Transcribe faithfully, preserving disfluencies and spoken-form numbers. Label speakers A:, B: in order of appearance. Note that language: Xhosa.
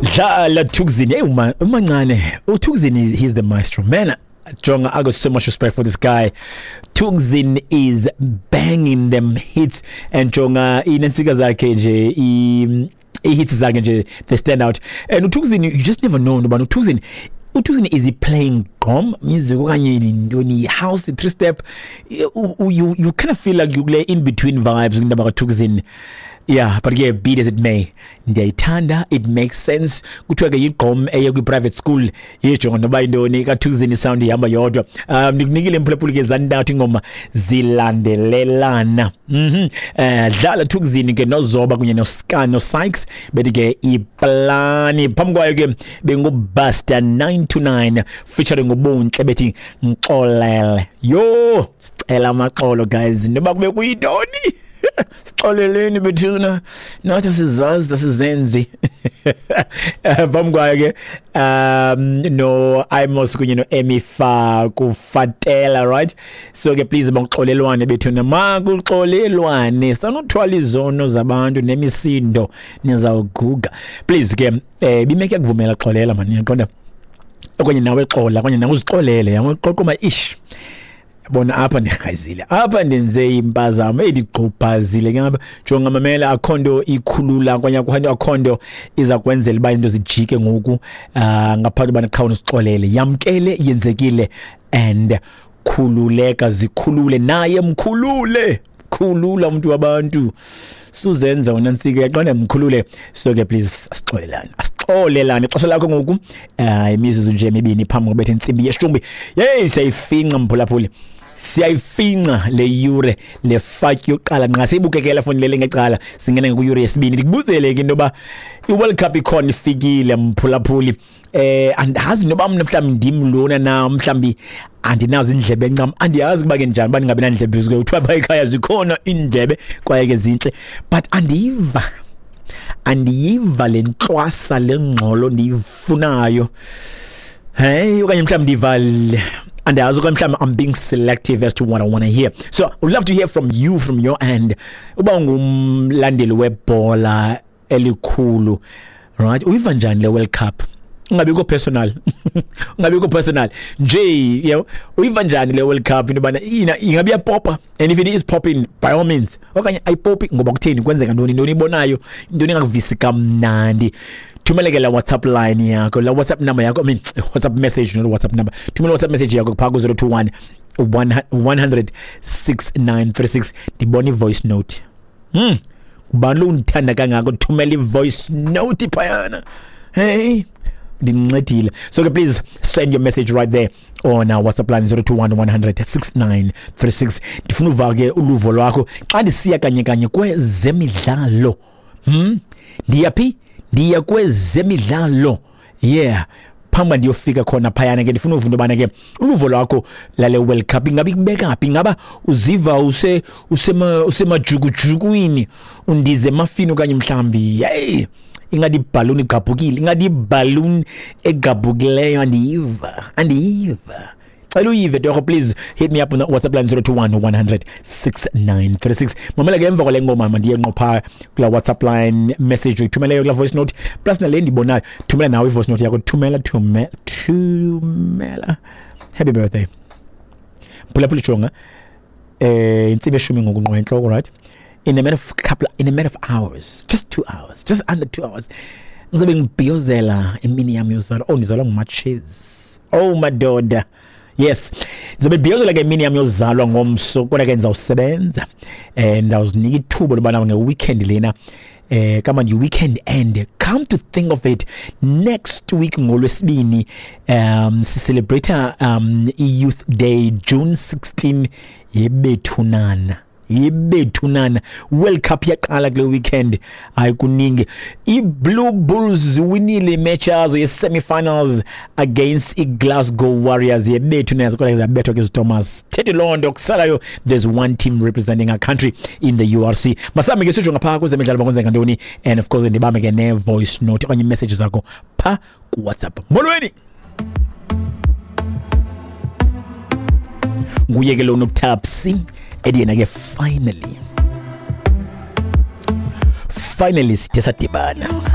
A: Dlala Thukzin. Hey, uma umancane. uThukzin is he's the maestro. Man, jonga, I got so much respect for this guy. Thukzin is banging them hits and jonga inensika zakhe nje i i-hits zakhe nje, they stand out. And uThukzin, you just never know noba uThukzin uThukzin is he playing gqom music okanye ntoni, house, three step? you you, you kind of feel like you play in between vibes indaba kaThukzin. Yeah, but ke, be it as it may, ndiyayithanda, it makes sense. Kuthiwa ke yigqom eye kwi-private school, yejonga noba yintoni kaThukzin, isound ihamba yodwa. um ndikunikile mphulaphuli ke zantathu ingoma zilandelelana. mhm eh dlala Thukzin ke noZoba kunye noScan noSykes, bethi ke iplani. Phambi kwayo ke benguBuster nine two nine featuring uBuntle, bethi Ngixolele. Yo, sicela amaxolo guys, noba kube kuyintoni, sixoleleni bethuna, nathi sizazi asizenzi. Phambi kwayo ke um no Imos kunye no Emifa kufatela, right? So ke please banxolelwane bethuna, makuxolelwane, sanothwala izono zabantu nemisindo, nizawuguga. Please ke, eh bimeke yakuvumela, xolela man, uyaqonda, okanye nawe xola, okanye nawe uzixolele, yaqoqoma ish, bona apha ndirhazile, apha ndenze impazamo, endigqubhazile ke ngapha. Jonga, mamela, akho nto ikhulula okanye akho nto akho nto iza kwenzela uba into zijike ngoku uh, ngaphandle ubana qha usixolele, yamkele yenzekile and khululeka, zikhulule naye, mkhulule, khulula umuntu wabantu, suzenza wena ntsike, yaqonda, mkhulule. So ke please asixolelane, asixolelane. Ixesha lakho ngoku uh, imizuzu nje emibini phambi kobetha intsimbi yeshumi. Yeyi, siyayifinca mphulaphuli, siyayifinca le yure le fatyi yokuqala nqa siyibukekela foni lele ngecala, singena kwiyure yesibini. Ndikubuzele ke into yoba i-World Cup ikhona, ifikile mphulaphuli. eh andazi noba mna mhlawumbi ndim lona na, mhlawumbi andinazo iindlebe ncam, andiyazi kuba ke njani uba ndingabi nandlebe, ke kuthiwa phaa ekhaya zikhona iindlebe kwaye ke zintle, but andiyiva andiyiva le ntlwasa, le ngxolo ndiyifunayo. Hey, okanye mhlawumbi ndiva, andiyazi, okanye mhlawumbi I'm being selective as to what I want to hear. So I would love to hear from you, from your end, uba ungumlandeli webhola elikhulu, right? Uyiva njani le World Cup? Ungabikho personal, ungabikho personal nje, you uyiva njani le World Cup, into yobana ingabe iyapopa? And if it is popping, by all means, okanye ayipopi, ngoba kutheni, kwenzeka ntoni, intoni ibonayo, intoni engakuvisi kamnandi? Thumele ke la WhatsApp line yakho, la WhatsApp number yakho, I mean WhatsApp message, not WhatsApp number. Thumela WhatsApp message yakho phaa ku-zero two one one hundred six nine three six. Ndibona i-voice note. hmm ngubani lo undithanda kangako thumela i-voice note phayana? Hey, ndincedile. So ke please send your message right there on our WhatsApp line, zero two one one hundred six nine three six. Ndifuna uva ke uluvo lwakho xa ndisiya kanye kanye kwezemidlalo. hmm ndiyaphi? Ndiya kwezemidlalo, yeah. Phambi ndiyofika khona phayana ke, ndifuna uva into yobana ke uluvo lwakho lale World Cup ingabe ikubeka phi, ingaba uziva use usema usemajukujukwini, undize emafini, okanye mhlawumbi hey, ingathi ibhaluni igqabhukile, ingathi ibhaluni egqabhukileyo, andiyiva, andiyiva. Cela uyive torho. Please hit me up on the WhatsApp line, zero two one one hundred six nine three six. Mamela ke, emva kwale ngoma mandiye ngqo phaa kula WhatsApp line message uyithumeleyo, kula voice note, plus nale ndibonayo. Thumela nawe i-voice note yakho, thumela, thumela, thumela. Happy birthday, mphulaphula. Jonga, eh intsimbi eshumi ngoku ngqo entloko, right? in a matter of couple in a matter of hours, just two hours, just under two hours, ngizobe ngibhiyozela imini yami yozalwa. Oh, ndizalwa ngumatshezi. Oh madoda, yes, ndizobe ndibhiyozela ke imini yami yozalwa ngomso, kodwa ke ndizawusebenza and ndawuzinika ithuba lobana nge-weekend lena, eh kama ndi weekend end. Come to think of it, next week ngolwesibini um si-celebrate um i-Youth Day, June sixteen. Yebethunana, yebethunana, World Cup yaqala kule weekend. Hayi, kuningi. I-Blue Bulls ziwinile imatch yazo ye-semi-finals against i-Glasgow Warriors. Yebethu kodwa zabethwa ke Thomas thethi loo nto kusalayo, there's one team representing our country in the U R C. Masambe ke sijonga phaa kwezemidlalo bakwenzeka ntoni, and of course ndibambe ke ne-voice note okanye imessage zakho phaa kuWhatsApp. Molweni, nguye ke lo noTapsi, ethi yena ke finally, finally sithe sadibana.